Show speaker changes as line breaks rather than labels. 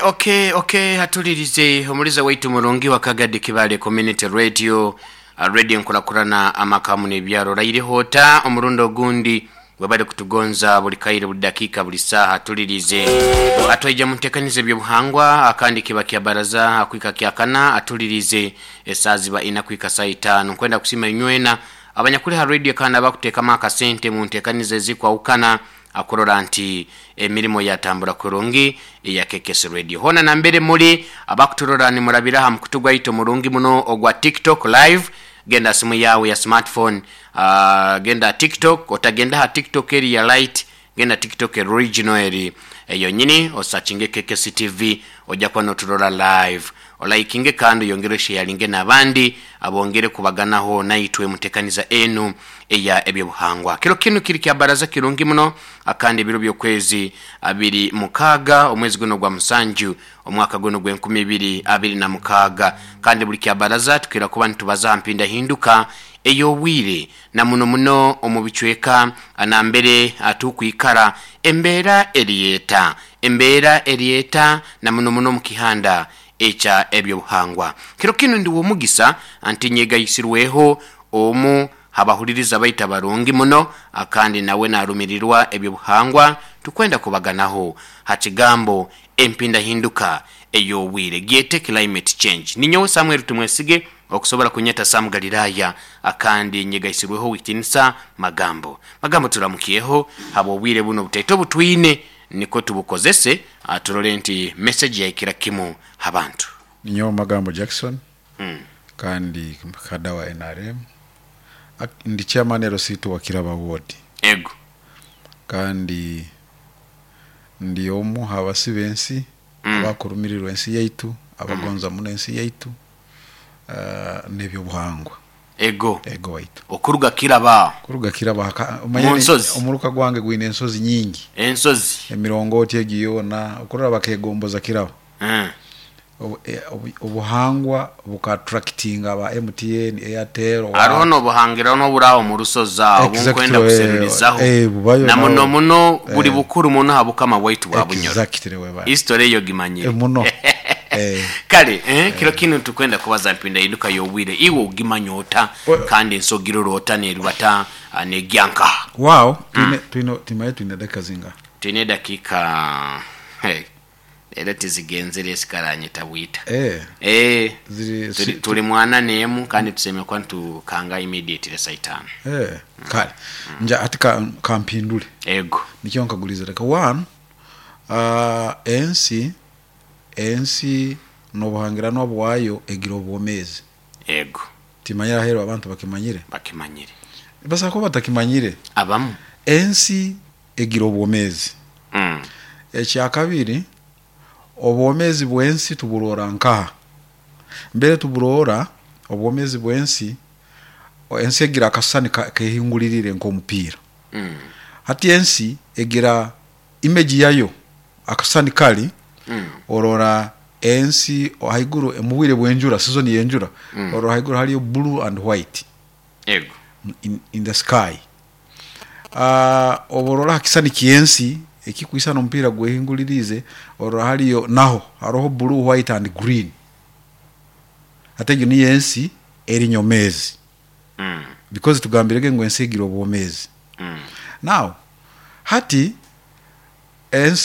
Okay, hatulirize omuliza waitu murungi wa Kagadi Kibale Community Radio, radio nkurakurana amakamu n'ebyaro. Raireho ota omurundi ogundi webale kutugonza buli kaire, buli dakika, buli saaha. Tulirize atwaija muntekaniza ebyobuhangwa akandi kiba kya baraza akwika kyakana. Atulirize esaa ziba ina kwika saa 5. Nkwenda kusima inywena abanyakuli ha radio kandi abakuteekamu akasente mu ntekaniza ezikwawukana akurora nti emirimo yatambura kurungi eya KKS Radio. Hona nambere muri abakuturora nimurabira ha mukutu gwaitu murungi muno ogwa TikTok Live. Genda simu yawe ya smartphone, genda TikTok, otagenda ha TikTok eri ya light, genda TikTok original eri eyo nyini, osachinge KKS TV, ojja kuba noturora live. Olaikinge kandi oyongere osharinge n'abandi abongere kubaganaho naitwe mutekaniza enu eya ebyobuhangwa. Kiro kinu kiri kya baraza kirungi muno akandi ebiro by'okwezi 26 omwezi guno gwa 7 omwaka guno gw'2026. Kandi buli kya baraza tukira kuba nitubaza mpinda hinduka ey'obwire na muno muno omu bicweka nambere atukwikara embeera eriyeta, embeera eriyeta na muno muno mu kihanda ekya ebyobuhangwa. Kiro kinu ndi w'omugisa anti nyegayisirweho omu habahuliriza baita barungi muno akandi nawe narumirirwa ebyobuhangwa, tukwenda kubaganaho ha kigambo empindahinduka ey'obwire, gyete climate change. Ninyowe Samuel Tumwesige, okusobola kunyeta Sam Galilaya, akandi nyegaisirweho witinisa Magambo. Magambo, turamukyeho habw'obwire buno butaito butwine niko tubukozese turole nti message yaikira kimu habantu.
Ninyowe Magambo Jackson kandi kada wa NRM. Ndi chairman LC2 wa Kiraba Ward.
Ego.
Kandi ndi omu habasi b'ensi abakurumirirwa ensi yaitu, abagonza muno ensi yaitu n'ebyobuhangwa.
Ego.
Ego waitu.
Okuruga Kiraba.
Kuruga Kiraba
Mu nsozi.
Omuruka gwange gwine ensozi nyingi.
Ensozi.
Emirongooti egi yoona okurora bakegomboza Kiraba. Obuhangwa buka attractinga aba MTN, Airtel.
Hariho n'obuhangirano n'oburaho mu rusozi aho bunkwenda kuserurizaho
Bubayo
na muno
nawo.
Muno buli bukuru muno ha bukama bwaitu bwa Bunyoro.
Exactly, weba.
History eyo gimanyire.
Muno.
Kale kiro kinu tukwenda kubaza mpindahinduka y'obwire, iwe ogimanya ota kandi ensogirora ota nerubata negyanka?
Wow, twine timaye twine dakika zinga?
Twine dakika, hey, leero tizigenzere esikaranyeta bwita.
Ziri
Tuli mwana nemu kandi tuseme kwa ntukanga immediately saa 5.
Kale nja hati kampindule.
Ego.
Nikyo nkaguliza reka one, ensi n'obuhangirano bwayo egira obwomezi.
Ego.
Timanyira ahero abantu bakimanyire.
Bakimanyire.
Basa kuba batakimanyire.
Abamu.
Ensi egira obwomezi. Ekyakabiri, obwomezi bw'ensi tuburora nkaha mbere tuburora obwomezi bw'ensi, ensi egira akasani kehingulirire nk'omupiira. Hati ensi egira image yayo, akasani kali orora ensi haiguru mu bwire bw'enjura, season y'enjura, orora haiguru hariyo blue and white
Ego.
in the sky. Oborora ha kisani ky'ensi ekikwisana omupiira gwehingulirize, orora hariyo naho haroho blue, white and green. Hati egyo niyo ensi eri nyomezi because tugambirege ngu ensi egira obwomezi. Now hati ensi